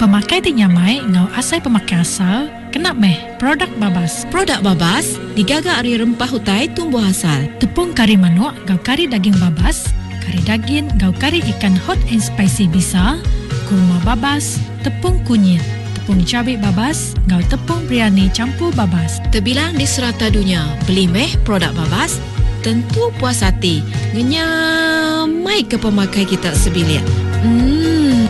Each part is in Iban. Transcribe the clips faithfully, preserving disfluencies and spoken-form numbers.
Pemakai ti nyamai enggau asai pemakai asal kena meh produk babas. Produk babas digaga ari rempah utai tumbuh asal. Tepung kari manuk enggau kari daging babas, kari dagin enggau kari ikan hot and spicy bisa, kurma babas, tepung kunyit, tepung cabai babas enggau tepung biryani campur babas. Terbilang di serata dunia, beli meh produk babas, tentu puas hati. Ngenyamai ke pemakai kita sebilik. Hmm.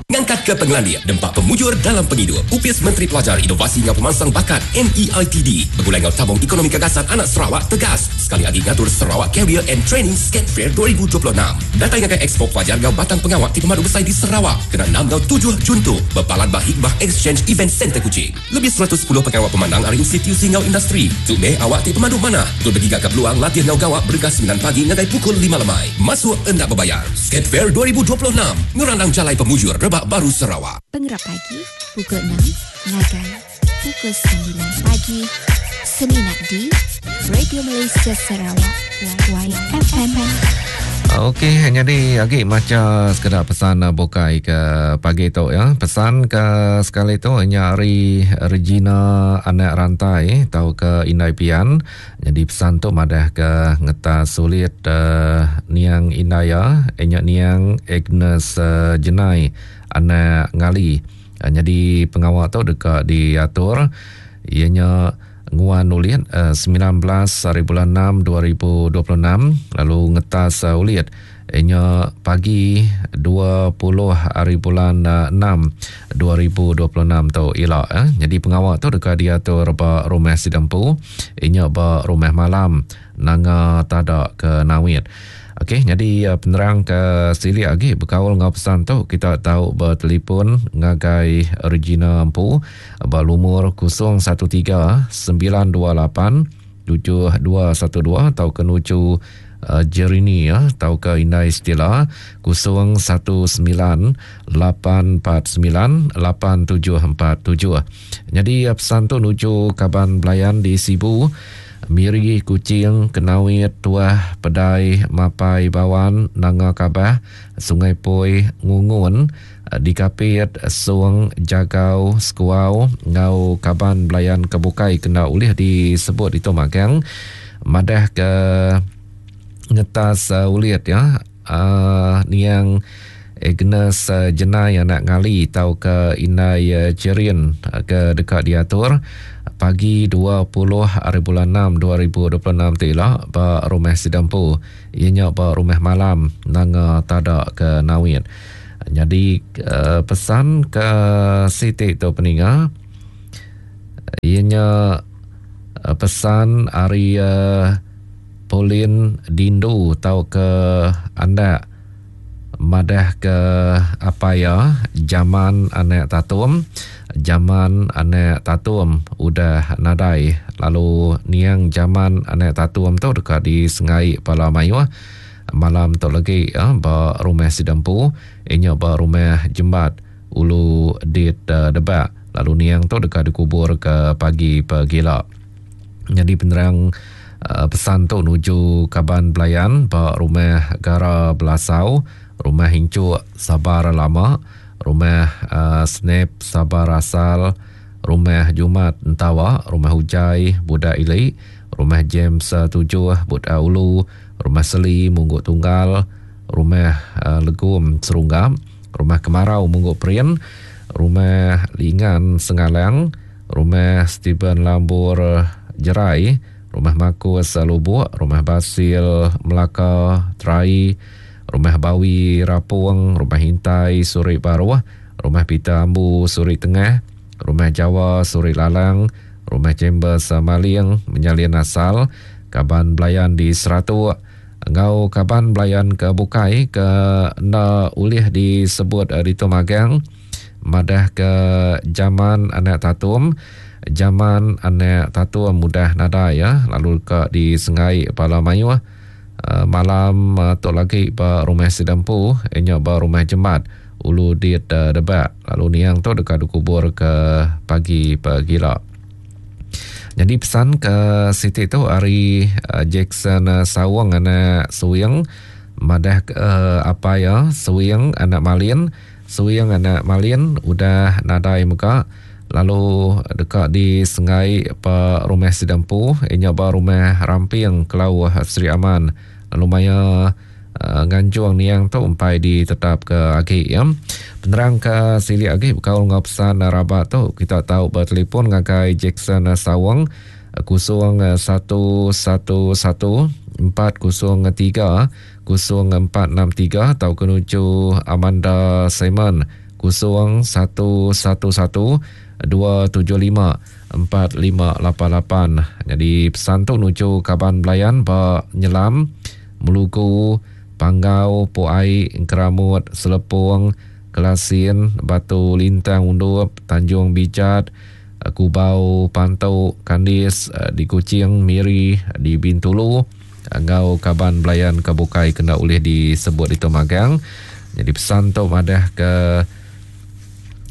Ngangkat ke pengelandik dempa pemujur dalam pengidup. Upis Menteri Pelajar Inovasi Ngau Pemansang Bakat M E I T D begulai ngau Tabung Ekonomi Gagasan Anak Sarawak tegas sekali lagi ngatur Sarawak Career and Training Skate Fair dua ribu dua puluh enam. Datai ngagai Expo Pelajar ngau Batang Pengawak ti pemadu besar di Sarawak kena enam ngau tujuh Jun tu berpalan ba Hikmah Exchange Event Center Kuching. Lebih seratus sepuluh pengawak pemandang ari institusi ngau industri. Tu meh awak ti pemadu mana. Tu bergiga ke peluang latih ngau gawak berengkah sembilan pagi ngagai pukul lima lemai. Masuk endak berbayar. Skate Fair dua ribu dua puluh enam ngerandang jalai pemujur rebak baru Sarawak. Pengerap pagi pukul enam ngagai pukul sembilan pagi Seminat di Radio Malaysia Sarawak Y F M. Okey, jadi lagi maca sekedar pesan bukai ke pagi tu ya. Pesan ke sekali tu nyari Regina anak rantai atau ke Indai Pian. Jadi pesan tu madah ke ngetas sulit uh, niang Indaya, enyak niang Agnes uh, Jenai anak ngali. Uh, jadi pengawal tu dekat diatur ianya nguan ulit uh, sembilan belas hari bulan enam dua ribu dua puluh enam lalu ngetas uh, ulit ianya pagi dua puluh hari bulan uh, enam dua ribu dua puluh enam tu ila eh. Jadi pengawal tu dekat diatur ba rumah Sidempu ianya ba rumah malam nanga tadak ke Nawit. Okey, jadi uh, penerang ke silik lagi berkaul ngau pesan tu kita tahu bertelefon ngagai Regina Empu ba lumur kosong satu tiga sembilan dua lapan tujuh dua satu dua atau ke nuju uh, Jerini ya atau ke Indai Stila kosong satu sembilan lapan empat sembilan lapan tujuh empat tujuh. Jadi uh, pesan tu nuju kaban belayan di Sibu, Miri, Kuching, Kenawit, Tuah, Pedai, Mapai, Bawan, Nanga Kabah, Sungai Poi, Ngungun, Dikapit, Sung, Jagau, Sekuau, Ngau Kaban Belayan Kebukai kena ulih disebut itu magang. Madah ke ngetas uh, ulit ya. Uh, niang Agnes uh, Jenai anak ngali tau ke Indai uh, Cerin uh, ke dekat diatur pagi dua puluh hari bulan enam dua ribu dua puluh enam tila ba rumah Sidempu ianya ba rumah malam nanga tadak ke Nawit. Jadi uh, pesan ke Siti tu peninga ianya uh, pesan ari uh, Pauline Dindu tau ke andak madah ke apa ya zaman anak tatum zaman anak tatum udah nadai lalu niang zaman anak tatum tu dekat di Sengai Pala Mayuh malam tu lagi ya, ba rumah Sidempu inya ba rumah Jembat Ulu Dit uh, Debak lalu niang tu dekat dikubur ke pagi pegila. Jadi penerang uh, pesan tu nuju kaban belayan ba rumah Gara Belasau, rumah Hincuk Sabar Lama, rumah uh, Snap Sabar Asal, rumah Jumat Entawa, rumah Ujai Budak Ili, rumah James uh, Tujuh Budak Ulu, rumah Seli Mungguk Tunggal, rumah uh, Legum Serunggam, rumah Kemarau Mungguk Perin, rumah Lingan Sengalang, rumah Stephen Lambur Jerai, rumah Makus Lubuk, rumah Basil Melaka Terai, rumah Bawi Rapung, rumah Hintai Suri Baruh, rumah Peter Ambu Suri Tengah, rumah Jawa Suri Lalang, rumah Chambers Maling Menyalin Asal, kaban belayan di Seratuk, ngau kaban belayan ke Bukai ke enda ulih disebut di Tumagang, madah ke zaman anak tatum, zaman anak tatum mudah nadai ya, lalu ke di Sengai Pala Mayuh. Uh, malam uh, tok lagi ba rumah Sidempu inya ba rumah Jemat Ulu Dit uh, Debak lalu niang tu dekat dikubur ke pagi pegila. Jadi pesan ke Siti tu hari uh, Jackson uh, Sawang anak Suing Madah ke uh, apa ya Suing anak Malin, Suing anak Malin udah nadai muka lalu dekat di Sengai pa rumah Sidampu inya ba rumah Ramping Kelauh Sri Aman. Lalu maya uh, nganjung niang tu empai ditetap ke agi ya. Penerang ke silik agi bekaul ngau pesan rabat tu kita tahu bertelefon ngagai Jackson Sawang kosong satu satu satu empat kosong tiga kosong empat enam tiga atau kenuju Amanda Simon kosong satu satu satu dua tujuh lima empat lima lapan lapan. Jadi pesan tu nuju kaban belayan ba Nyelam, Melugu, Panggau, Puai, Keramut, Selepung, Kelasin, Batu Lintang Undup, Tanjung Bijat, Kubau, Pantau, Kandis, di Kuching, Miri, di Bintulu, ngau kaban belayan kebukai kena ulih disebut itu magang. Jadi pesan tu madah ke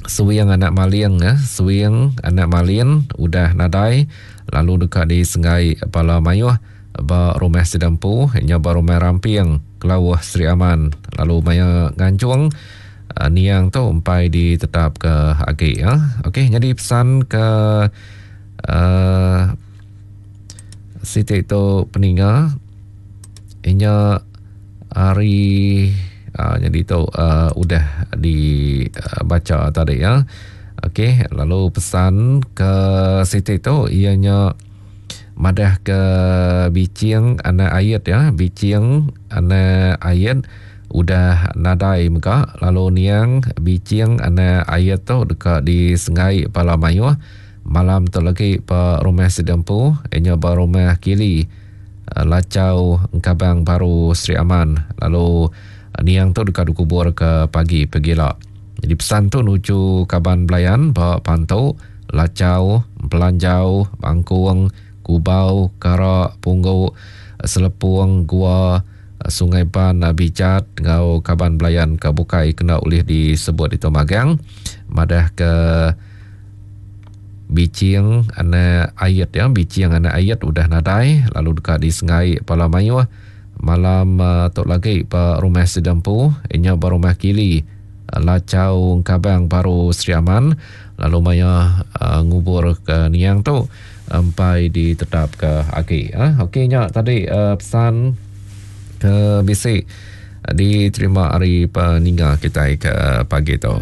Suing anak Maling ya, Suing anak Malin udah nadai lalu dekat di Sengai Pala Mayuh ba rumah Sidampu nya ba rumah Ramping Kelauh Sri Aman. Lalu maya nganjung niang tu empai ditetap ke agi ya. Okey, jadi pesan ke uh, Siti tu peninga inya hari uh, jadi tu uh, udah dibaca uh, tadi ya. Okey, lalu pesan ke Siti tu ianya madah ke Bicing anak ayat ya, Bicing anak ayat udah nadai mega lalu niang Bicing anak ayat tu dekat di Sengai Pala Mayuh malam tu lagi pa rumah Sidampu inya ba rumah Kili Lacau Engkabang Baru Sri Aman. Lalu niang tu dekat dikubur ke pagi pegila. Jadi pesan tu nuju kaban belayan ba Pantu, Lacau, Pelanjau, Bangkung, Kubau, Karak, Punggu, Selepung, Gua, Sungai Ban, Bijat ngau kaban belayan ke bukai kena ulih disebut itu magang. Madah ke Bicing anak ayat ya, Bicing anak ayat udah nadai lalu dekat di Sengai Pala Mayuh malam uh, tok lagi pa rumah Sidampu inya ba rumah Kili Lacau Kabang Baru Sri Aman. Lalu maya uh, ngubur ke niang tu empai ditetap ke agi. Ah, okey nya tadi uh, pesan ke bisi diterima hari peninga kita ke pagi tu.